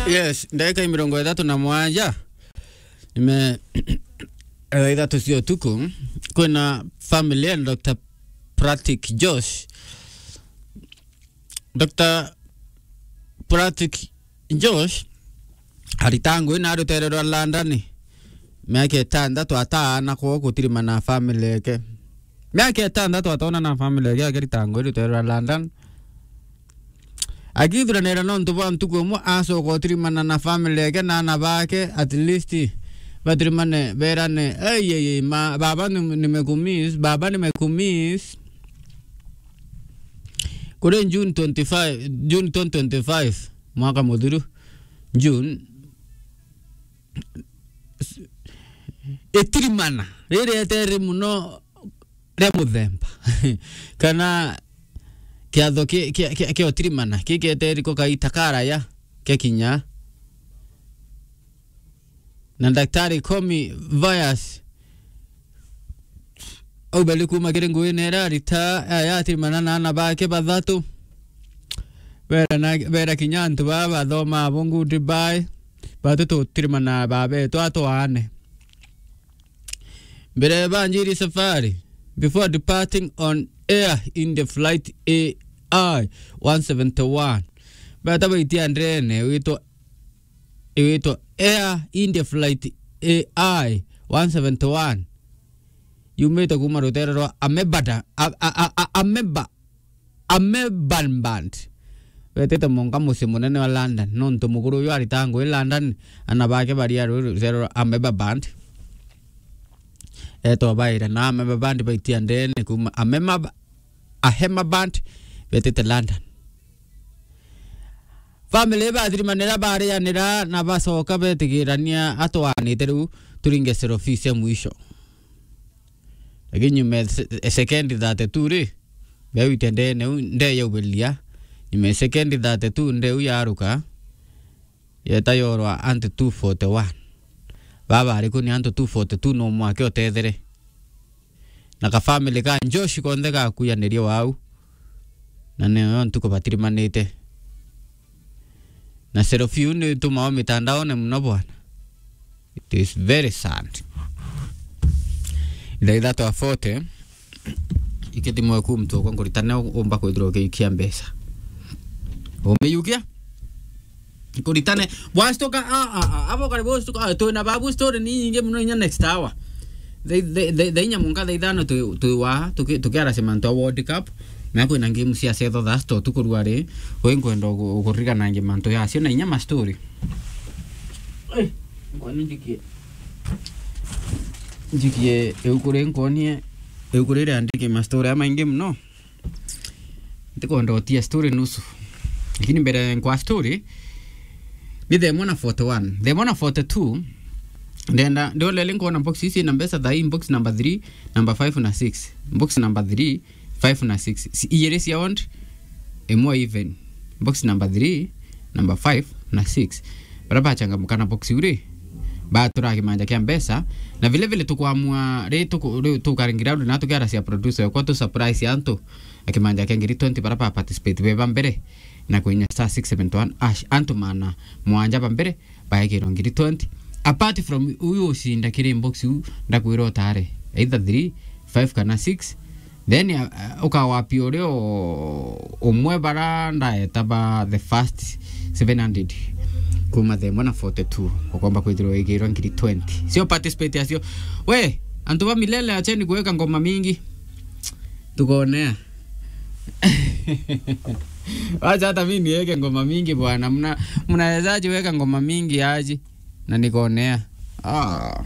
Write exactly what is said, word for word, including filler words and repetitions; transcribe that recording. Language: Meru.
Yes, ndagika mirongo ithatu na mwanja. Nime, thaa ithatu cia utuku, kwina family ya Doctor Pratik Josh. Doctor Pratik Josh arita ngui na rutere rwa London. Miaka itantatu ataana kwoo gutirimana na family yake. Miaka itantatu ataona na family yake akirita ngui rutere rwa London. Akithuranira nontu bwa ntuku imwe acoka utirimana na family yake na ana bake, at least batirimane berane, "Ei, ei, ei, ma, baba ni, nimekumiss, baba nimekumiss." Kuri June twenty-five, June twenty twenty-five, mwaka muthiru, June, itirimana riri etere muno ria muthemba kana kiatho ki-, ki-, ki-, kia utirimana ki kieteri ko kaita karaya kia kinya. Na Daktari Komi Vias aubeli kuma kiri nguine iria arita aya atirimana na ana bake bathatu. Bera na, bera kinya antu baa bathoma abo nguu Dubai, batu tutirimana babetu atwaane. Mbere ya banjiri safari, before departing on air in the flight A I one seventy-one, beta baitia ndene witwa, witwa Air India flight A I one seventy-one, yumite kuma rutere rwa Amebada-, a, a, a, a, Ameba-, Amebaband. Betete monka mucii munene wa London, nontu mukuru uyu arita ngui London, ana bake bari a rwi rutere rwa Amebaband. Etwa baira na Amebaband baitia ndene kuma Amema-, Ahemaband, betete London. Family bathirimanira, barianira na bacoka betigirania atwaanite riu turinge selfie cia mwisho. Lakini nyuma ya se-, second thirty-two ri, bewitia ndene u, nde yaubiria. Nyuma ya second thirty-two nde u yaruka, yeta yorwa antu two forty-one. Baba ariku ni antu two forty-two no mwake utethere. Na ka family ka Josh konthe gakuyaniririe wau. Na niyo ntuku batirimanite. Na selfie iu ni itumao mitandaone muno bwana. It is very sad. Thaa ithatu a forty, ikithimwe ku mtu ukwa nkuritane umba kwithirwa ukiikia mbeca. Umiyukia? Nkuritane. Bwastuka, a, a, a, abo kare bwastuka, a, twina babu story ni nyingi muno inya next hour. Thaa, thaa, thaa, thaa inya munka thaa ithano twi, twi wa, tuki-, tukiaracia mantu a World Cup. Na kwina game cia cetho thaa sita utuku rwa ri, we nkwenda ugu-, uguririkana ngi mantu yacio na inya ma story. Eh, nkwani njikie. Njikie iu kuri nkonie, iu kuri riandiki ma story amaingi muno. Ntikwenda utia story nusu. Lakini mbere nkwa story, ni thaa imwe na forty-one. Thaa imwe na forty-two, ndenda, ndolele nkona box ici na mbeca thaa hii, box number three, number five na six. Box number three, five na six. Si, iyiri cia odd, imwe even. Box number three, number five na six. Bara bachangamuka na box iu ri, batura kimanja kia mbeca. Na vile vile tukwamua, ri tuku-, ri tukaringira na tukiaracia producer yakwa tu surprise antu. Akimanja kia ngiri twenty bara ba participate be ba mbere na kwinya star six seven one hash. Antu maana mwanja ba mbere baekirwa ngiri twenty. Apart from uyu ucinda kiri inbox u, ndakwira utare either three, five kana six. Then, uh, ukawapia uria u-, umwe bara ndaeta ba the first seven hundred kuma the one forty-two, ukomba kwithirwa wikirwa ngiri twenty. Sio participate acio. We, antu ba Milele, acheni kuweka ngoma mingi. Tukonea. Wacha hata mimi niweke ngoma mingi bwana. Mna-, mnawezaje weka ngoma mingi aje? Na nikonea. Ah.